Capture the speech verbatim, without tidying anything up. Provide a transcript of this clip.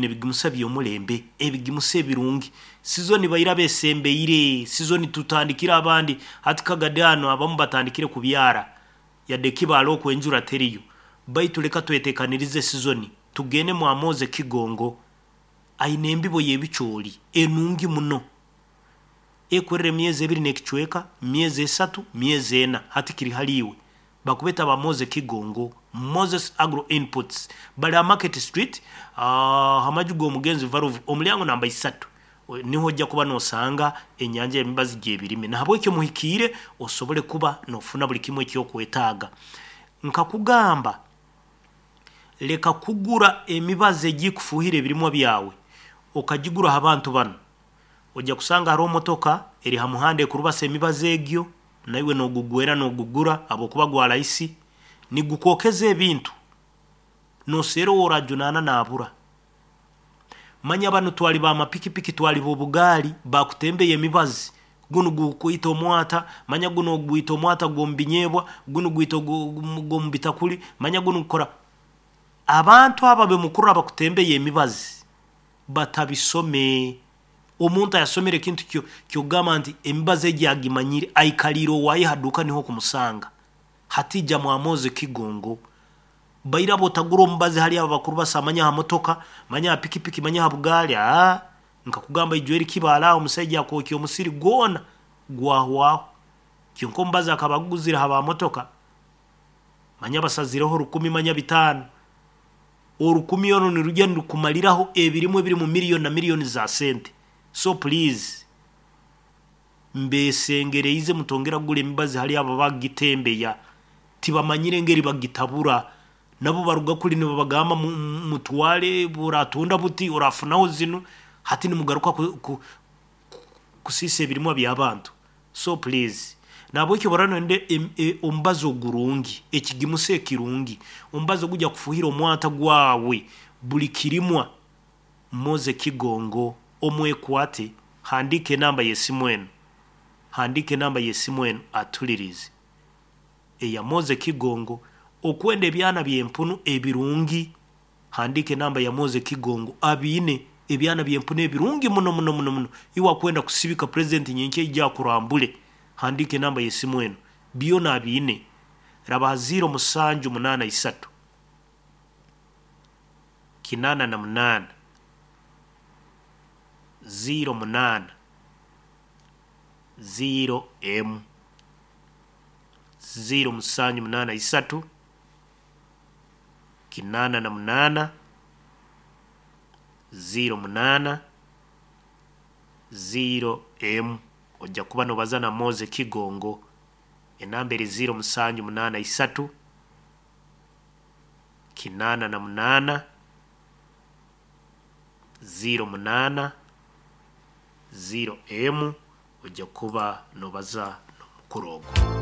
Twine ebigimusa by'omulembe, ebigimusa ebirungi. Sizoni baira besembeire, sizoni tutandikire abandi hati kagadi ano abamu batandikire kubyara yadde kibaala okwenjura teriyo, baitu leka twetekanirize sizoni tugende mwamoze Kigongo aine embibo y'ebicooli enungi muno ekwerera emyezi ebiri n'ekicweka, myezi esatu, myezi ena, hati kiri hali iwe. Bakubeta ba Moze Kigongo, Moses Agro Inputs, bali ha Market Street, uh, hamaju g'omugenzi Varuvu, omulyango namba isatu niho ojja kuba nosanga enyanja y'emibazi gy'ebirime. Nahabwekyo muhikiire osobole kuba nofuna buli kimu ekyokwetaaga. Nkakugamba leka kugura emibazi egikufuuhira ebirimwa byawe okagigura ha bantu banu. Ojja kusanga hariho motoka eri ha muhanda ekurubasa emibazi egyo, naiwe nogugwera nogugura habwokuba gwa rahisi, nigukwokeza ebintu noseera oworajunana nabura. Manya banu twali ba mapikipiki, twali b'obugaali bakutembeya emibazi, gunu gukwita omwata, manya guno gwita omwata gw'omu binyeebwa, gunu gwita gw'omu bitakuli, manya gunu gukora. Abantu aba bemukuru abakutembeya emibazi batabisome. Omuntu ayasomere ekintu kyo kyogamba nti emibazi egi agimanyire, aikaliire owaaye ha duka niho kumusanga. Hatija mwamoze Kigongo baira botagura omubazi hali abo bakuru basa, manya ha motoka, manya ha pikipiki, manya ha bugaali. Aa nkakugamba ijweri kibaala aho omusaija akwokya omusiri gwona gwahwaho. Kyonka omubazi akaba aguguzire ha ba motoka, manya basazireho rukumi, manya bitaano, orukumi oru nirujya nirukumaliraho ebirimu ebiri mu miliyoni na miliyoni za sente. So please mbesengereize mutongera kugura emibazi hali abo bagitembeya, tibamanyire engeri bagitabura, nabo baruga kuli nibabagamba mutwale buratunda buti orafunaho zinu, hati nimugaruka ku, ku, kusiisa ebirimwa by'abantu. So please nabwekyo borano nde e, omubazi ogurungi, ekigimusa ekirungi, omubazi ogujja kufuhira omwata gwawe buli kirimwa. Moze Kigongo omwekwate, handika enamba y'esimu eno, handika enamba y'esimu eno atulirize eya Moze Kigongo. Okwenda ebyana by'empunu ebirungi, handika enamba ya Moze Kigongo, abiine ebyana by'empunu ebirungi muno muno muno muno. Iwe akwenda kusibika president nyenkya ija akurambule, handika enamba y'esimu eno, byona abiine. Raba ziro musanju munana isatu kinana na munana ziro munana ziro emu, ziro musanju munana isatu kinana na munana ziro munana ziro emu. Ojja kuba nobaza na Moze Kigongo. Enamba eri ziro musanju munana isatu kinana na munana ziro munana ziro emu. Ojja kuba nobaza n'omukuru ogwo.